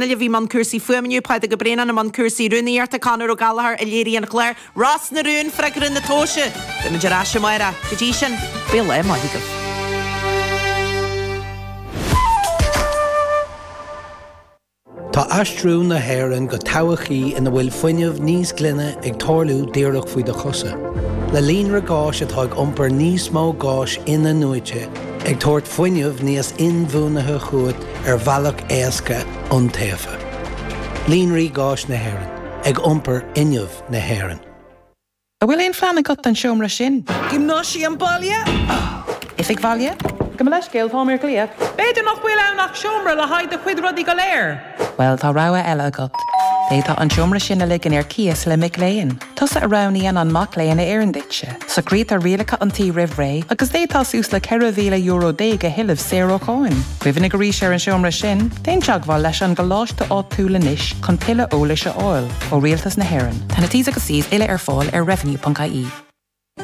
a bhí i mbun cúrsaí fuaime inniu, Pádraig Ó Braonáin i mbun cúrsaí rúnaíochta, Conor Ó Gallchóir a léirigh an clár, Ros na Rún, freagra na tomhaise! Beimid ar ais amárach. Go dtí sin, bíodh lá maith agaibh. Tá aistriú na hÉireann go todhchaí ina bhfuil fuinneamh níos glaine ag tarlú díreach faoi do chosa. Le líonra gáis atá ag iompar níos mó gáis in-athnuaite, ag tabhairt fuinneamh níos inbhuanaithe chugat ar bhealach éasca, iontaofa. Líonraí Gáis na hÉireann, ag iompar fhuinneamh na hÉireann. An bhfuil aon phlean agat don seomra sin? Giomnáisiam baile? Oifig bhaile? Gabh mo leithscéal, táim ar ghlaoch. B'fhéidir nach bhfuil ann ach seomra le haghaidh do chuid rudaí go léir. Bhuel, tá rogha eile agat. D'fhéadfá an seomra sin a ligean ar cíos le mic léinn. Tusa a roghnaíonn an mac léinn a oireann duitse. Socraítear rialacha an tí roimh ré agus d'fhéadfá suas le €14,000 a thuilleamh saor ó cháin. Cuimhnigh arís ar an seomra sin, déan teagmháil leis an gcoláiste áitiúil anois chun tuilleadh eolais a fháil. Ó Rialtas na hÉireann. Tá na T's agus C's uile ar fáil ar revenue.ie.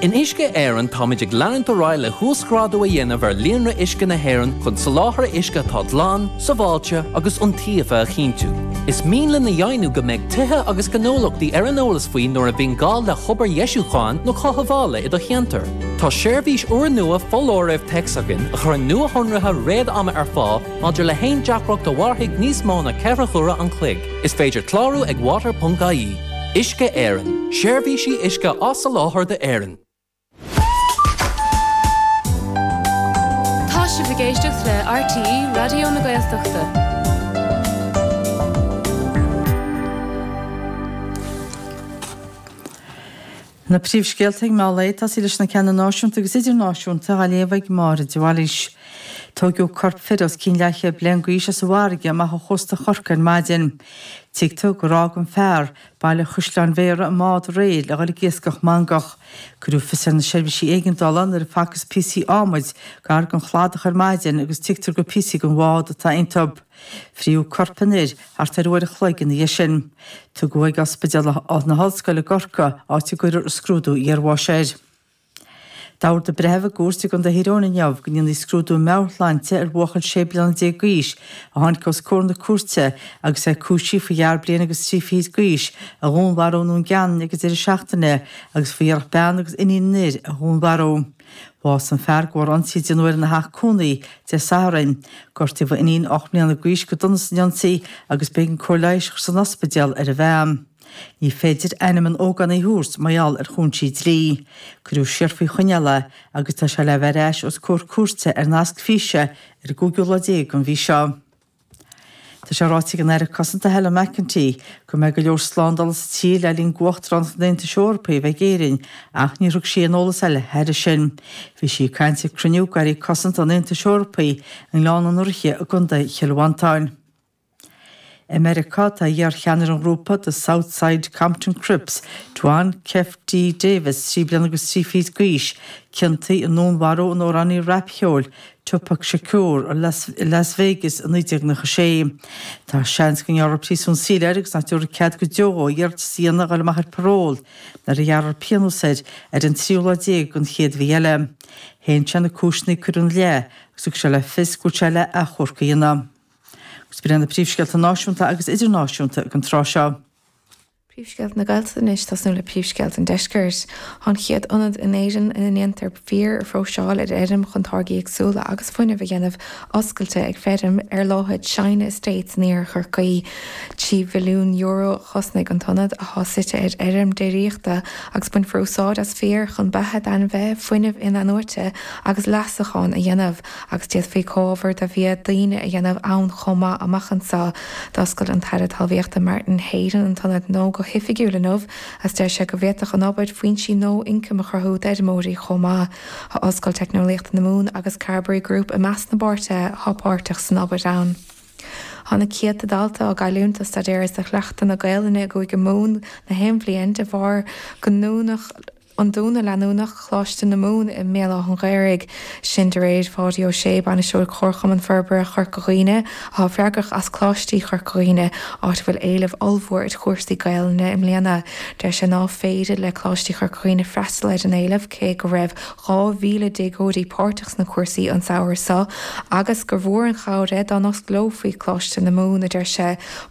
In Uisce Éireann táimid ag leanúint ar aghaidh le huasghrádú a dhéanamh ar líonra uisce na hÉireann chun soláthar uisce atá glan, sábháilte agus iontaofa a chinntiú. Is mian linn a dheimhniú go mbeidh tithe agus gnólachtaí ar an eolas faoi nuair a bhíonn gá le hobair dheisiúcháin nó chothabhála i do cheantar. Tá seirbhís úrnua foláirimh téacs againn a chuireann nuashonruithe réad-ama ar fáil maidir le haon deacracht a mhairfidh níos mó ná 4 huaire an chloig. Is féidir clárú ag water.ie. Uisce Éireann, seirbhísí uisce á soláthar d'Éirinn. Tá sibh ag éisteacht le RTÉ Raidió na Gaeltachta. Na príomhscéalta ag meán lae, ag tosaí leis na ceanna náisiúnta agus idirnáisiúnta, á léamh ag Máire de Bhailís. Tóigeadh corp fir os cionn leathchéad bliain d'aois as an bhfarraige amach ó chósta Chorcaí ar maidin. Tuigtear gur fhág an fear, Baile Chaisleáin Bhéarra, i mbád aréir le dhul ag iascach mangach. Cuireadh fios ar na seirbhísí éigeandála nuair a facthas píosaí adhmaid gar don chladach ar maidin agus tuigtear gur píosaí den bhád atá iontu. Fríodh corp an fhir thart ar uair a chloig ina dhiaidh sin. Tugadh ag Ospidéal na hOllscoile i gCorcaigh, áit a gcuirfear scrúdú iarbháis air. D'ordaigh breitheamh i gcúirt i gContae Thír Eoghain inniu go ndéanfaí scrúdú meabhairshláinte ar bhuachaill 16 bliana d'aois a tháinig os comhair na cúirte agus é cúisithe faoi fhear bliain agus trí fichid d'aois a dhúnmharú i nDún Geanainn ag an deireadh seachtaine agus faoi iarracht bean agus iníon an fhir a dhúnmharú. Bhásaigh an fear de bharr ionsaí a déanadh air ina theach cónaí Dé Sathairn. Gortaíodh a iníon 8 mbliana d'aois go dona san ionsaí agus b'éigean cóir leighis a chur san ospidéal ar an bhean. Ní féidir ainm an ógánaigh a thabhairt mar gheall ar chúinsí dlí. Cuireadh siar faoi choinneáil é agus tá sé le bheith ar ais os comhair cúirte ar nasc físe ar an gcúigiú lá déag den mhí seo. Tá sé ráite ag an Aire Cosanta Helen McEntee go mbeidh go leor slándála sa tír le linn d'Uachtaránacht an Aontais Eorpaigh a bheith ag Éirinn ach níor thug sí aon eolas eile thairis sin. Bhí sí ag caint ag cruinniú d'Airí Cosanta an Aontais Eorpaigh i nGleann an Fhraoigh i gContae Chill Mhantáin. I Meiriceá, tá iar-cheannaire an ghrúpa The South Side Compton Crips, Duane Keffe D Davis, 3 bliana agus 3 fichid d'aois, ciontaithe i ndúnmharú an amhránaí rapcheoil, Tupac Shakur i Las Vegas i 1996. Tá seans go ngearrfar príosún saoil air agus nach dtabharfar cead go deo dhó iarratas a dhéanamh a dhul amach ar paról nuair a ghearrfar pionós air ar an tríú lá déag den chéad mhí eile. Shéan sé na cúiseanna a cuireadh ina leith agus thug sé le fios go bhfuil sé le achomharc a dhéanamh. Agus b'in iad na príomhscéalta náisiúnta agus idirnáisiúnta ag an tráth seo. Príomhscéalta na Gaeltachta anois, tosnú le príomhscéalta an Deiscirt. Tá an chéad ionad in Éirinn ina ndéantar féar a phróiseáil ar fheirm chun táirgí éagsúla agus fuinneamh a dhéanamh oscailte ag feirm ar láthair Shine Estates in iarthar Chorcaí. €3 mhilliún a chosnaigh an t-ionad, atá suite ar fheirm déiríochta, agus bainfear úsáid as féar chun beatha d'ainmhithe, fuinneamh in-athnuaite agus leasachán a dhéanamh. agus d'fhéadfaí comhábhair do bhia daoine a dhéanamh ann chomh maith amach anseo. D'oscail an tAire Talmhaíochta Martin Heydon an t-ionad nua go hoifigiúil inniu agus deir sé go bhféadfadh an obair foinsí nua ioncaim a chruthú d'fheirmeoirí chomh maith. Tá Ollscoil Teicneolaíochta na Mumhan agus Carbery Group i measc na bpáirtithe atá páirteach san obair ann. Tá na céadta dalta á gcailliúint do staidéar is do chleachtadh na Gaelainne i gCúige Mumhan na haon bhliain de bharr go ndúnadh. an dúnadh leanúnach Choláiste na Mumhan i mBéal Átha an Ghaorthaidh. Sin de réir Pháidí Ó Sé, Bainisteoir Chomharchumann Forbartha Chorca Dhuibhne, atá freagrach as Coláistí Chorca Dhuibhne, áit a bhfuil éileamh ollmhór ar chúrsaí Gaelainne i mbliana. Deir sé ná féidir le Coláistí Chorca Dhuibhne freastal ar an éileamh cé go raibh 2,000 déagóirí páirteach sna cúrsaí an samhradh seo agus gur mhór an chabhair é dá n-osclófaí Coláiste na Mumhan, a deir sé.